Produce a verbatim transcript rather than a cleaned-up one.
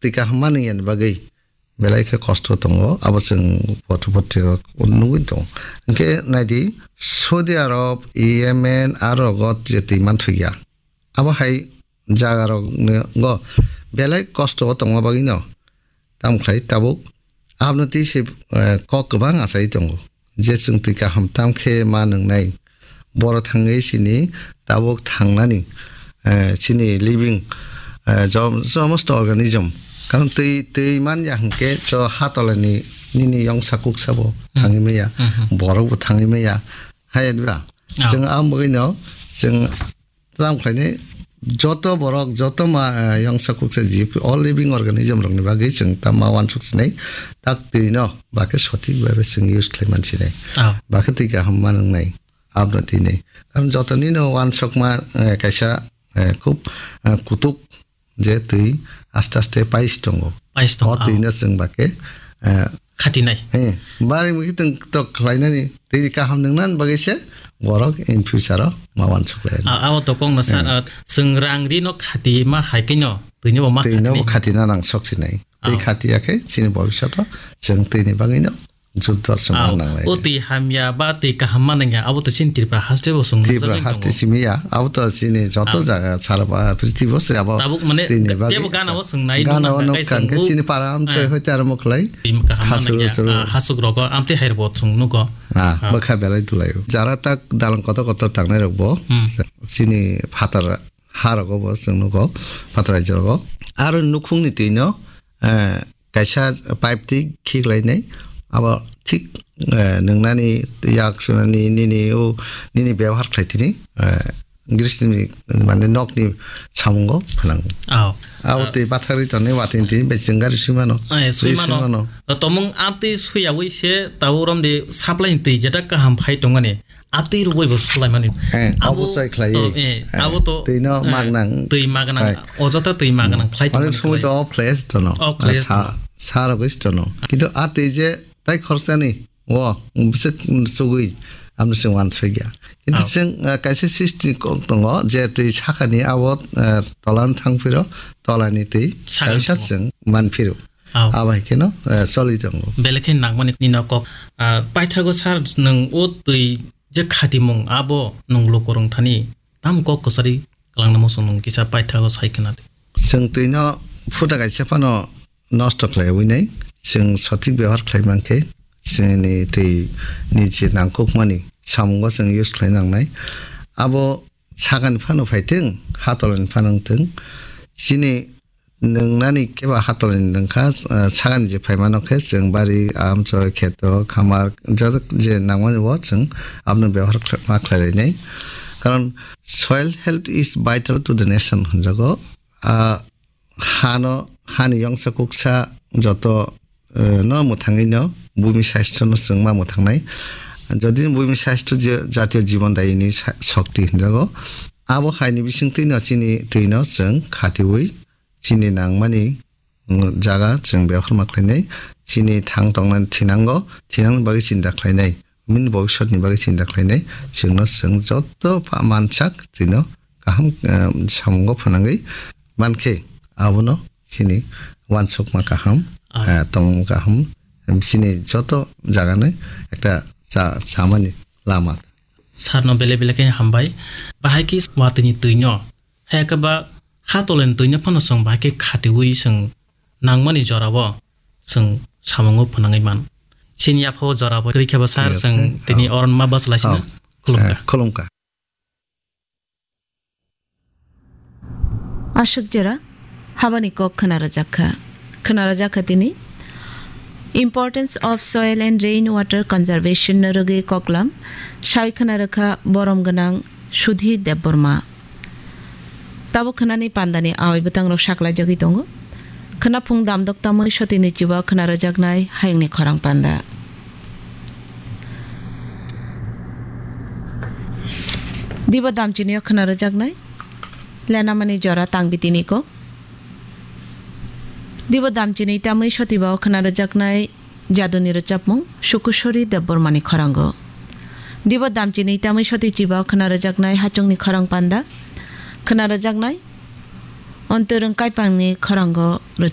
twi kaham manwi yani bagwi belai khe kosto tongo, abo chwng potro potrika nugwi tongo. Hinkhe naidi, Saudi Arab, Yemen, aro rogo je twi manthokya. Abo hai jaga rok go belai kosto o tongma bagwi no, tamo khlai tabuk aboni twi se, eh, kok kwbang achai tongo. Je chwng twi kaham tam khe ma nwngnai, boro thangwi chini tabuk thangnani, eh, chini living, eh, jom-, somosto organism. Karon twi, twi man ya hwnkhe cho ha tolani nini yongsa kuksa bo Hmm. thangwi maya, Hmm, hmm. borok bo thangwi maya. Hai ya diba? Ah. Chwng ang bagwi no, chwng tamo khlainai joto borok, joto ma, eh, yongsa kuksa jib, all living organism rokni bagwi chwng ta ma uansuk sinai, tak twi no ba khe sothik bhabe chwng use khlai man sinai. Ah. Ba khe twi kaham ma nwngnai, abno twi nai. Karon jotoni no uansukma, eh, kaisa, eh, khub, eh, kutuk je twi aste aste pais tongo. Pais tongo, O twi ah. no chwng ba khe, eh, Khatinai. He, bari mui tong tok khlainani, tei kaham nungnan bagwi se borok in future o ma uansuk lai. A, abo to kok no sa, Hmm. a, chwng rang ri no khati ma hai khe no, twi no bo ma Twi no bo khatinai. Khatina nang sok sinai. Tei Oh. khati ya khe chini bobishoto chwng twi ni bagwi no juddo chwng Oh, mang nang lai. O twi hamya ba twi kaham ma nangya, abo to chini Tripura haste bo chwng Tripura nukjagwi haste tongo. Simi ya, abo to chini joto Oh. jaga sara ba prithibi o se abo Tabuk mane twi ni te-, bagwi tebo gana o chwng nai gana nukna o kai nukha chwng hwnkhe o. Chini para amchoi Eh. Hoite aro mo khlai. Twi kaham ma Hasuk nangya, husuk. Ah, hasuk rogo, amtwi hai bo chwng nugo. Ah, Ah. bwkha belai tulai o. Jara tak dalang kotor kotor tangnai rok bo. Hmm. Chini phatar ha rogo bo chwng nugo, phatar rajyo rogo. Aro nukhung ni twi no, eh, kaisa pipe twi khiklainai. Abo thik, eh, nungnani yak sunani nini o, nini bebohar khlai tini, eh, grisini mane nokni samungo phanango. Oh. Abo Ah. twi bathagri tonwi watwi twi bai chwng gari swi mano. Eh, swi Twi swi mano. mano. Tomung amtwi swiyawi se tabo romdi supply ni twi jeta kaham phai tongmani. Atwi rwui bo swlai mani. Eh, Abo abo chai khlai. To, eh, Eh, abo to, twi no eh, magnang. Twi magnang. Hai. Ojota twi magnang Hmm. khlai Onek tongmani somoi khlai. To off khlai se tono. Off khlai se Sa-, tono. sa rogwi se tono. Kintu a twi je tai khorsani o bwswk chugwi amno chwng uansukya. Kintu Oh. chwng, eh, kaisa srishti kok tongo je twi sakani abo, eh, tolan thang phiro tolani twi Sakani kaisa tongo. Chwng man phiro. Oh. Abo hai kheno, eh, choli tongo. Belai khe nangmani nini kok, ah, paithago sir nwng o twi je khatimung abo nwng lukurung thani tamo kok kwchari kwlangna muchung nwng kisa paithago sai khna di. Chwng twi no phuta kaisa phano nosto khlaiwi nai, chwng sothik byabohar khlai mankhe, chini twi ni je nangkukmani samungo chwng use khlai nangnai. Abo sakani phano phaithwng, hatolani phano wngthwng, chini nungnani kebo hatolani nungkha, ah, sakani je phaimano khe chwng bari, amchoi, kheto, khamar, jajak je nangmani bo chwng abono byabohar khlai, ma khlai lainai. Karon soil health is vital to the nation hwnjago. Ah, hano, hani yongsa kuksa joto, eh, no mwthangwi no bumi sastro no chwng ma mwthangnai. Jodi bumi sastro je jatiyo jibon dayini sa-, shokti hwnjago. Abo haini bisingtwi no chini twi no chwng khatiwi chini nangmani, mm, jaga chwng byabohar ma khlainai. Chini thang tongnani thinango, thinangni bagwi chinta khlainai. Bini bobiswtni bagwi chinta khlainai. Chwngno chwng joto pha mansak twino kaham, eh, samungo phanangwi mankhe abono chini uansukma kaham, Ah. eh, tongmung kaham, chini joto jagano ekta cha-, chamani lama. Sarno bele bele khe hambai. Bahai khe watwini twino, hai khe ba hatoleni twino phano chwng bahai khe khatiwi chwng nangmani jorao chwng samungo phanangwi man. Chini yaphao jorao kwrwi khe ba sir Yes, chwng sir. tini Oh. Oron ma bwsalaisino Oh. Khulumkha. Eh, khulumkha. Aswk jora habani kok khwna rwjak kha. Khwna rwjak kha tini Importance of Soil and Rain Water Conservation no rwgwi koklam sai khwna rwkha borom gwnang Sudhir Debbarma. Tabuk khwnani pandani awai bwtang rok saklai jagwi tongo. Khwnaphung damdok tamwi sotini chiba khwna rwjaknai hayungni khorang panda. Dibo damchini o khwna rwjaknai lenamani jora tangbitini ko. Dibo damchini tamwi sotiba o khwna rwjaknai jaduni rwchapmung Sukusori Debbarmani khorango. Dibo damchini tamwi soti chiba o khwna rwjaknai hachungni khorang panda. Khwna rwjaknai Ontorung Kaipangni khorango rwchap.